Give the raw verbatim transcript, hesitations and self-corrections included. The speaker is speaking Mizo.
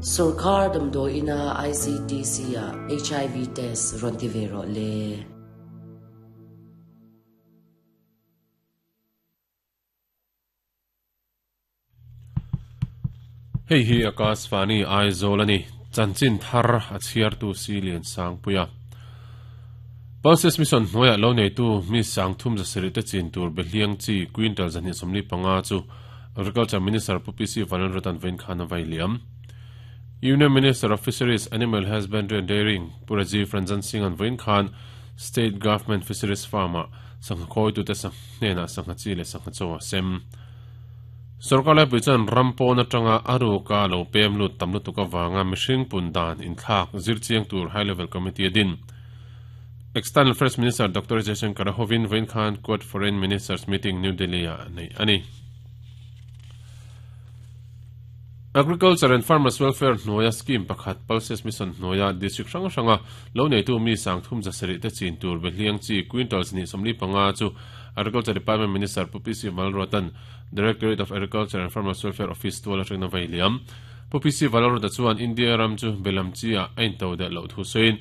Sorkar damdawi ina I C T C a H I V test rawn ti ve rawh le. Hei hi Akashvani Aizawl a ni. Chanchin thar a chhiartu Silian Sangpuia. Pulses Mission hnuaiah lo neitu mi sangthum zasarih te chin tur behliang chi quintal zahnih sawmli panga chu Agriculture Minister Pu P C Vanlalruata'n vawiin khan a vai liam. Union Minister of Fisheries, Animal Husbandry and Dairying Pu Rajiv Ranjan Singh-a'n vawiin khan State Government Fisheries Farm-ah sangha khawitute hnenah sangha chi leh sangha chaw a sem. Sorkar laipui chuan ram pawn atanga a ruka lo pem lut tam lutuk avanga mihring pun dan inthlak zirchiang tur High Level Committee a din. External Affairs Minister Doctor Jaishankar hovin vawiin khan Quad Foreign Ministers Meeting New Delhi-ah nei a ni. Agriculture and Farmers Welfare hnuaia scheme pakhat Pulses Mission hnuaia district hrang hranga lo neitu mi sangthum zasarih te chin tur behliang chi quintals ni sawmli panga chu Agriculture Department Minister Pu P C Vanlalruata'n Directorate of Agriculture and Farmers Welfare Office tual atangin a vai liam. Pu P C Vanlalruata chuan India ram chu belam chi ah a intodelh loh thu sawiin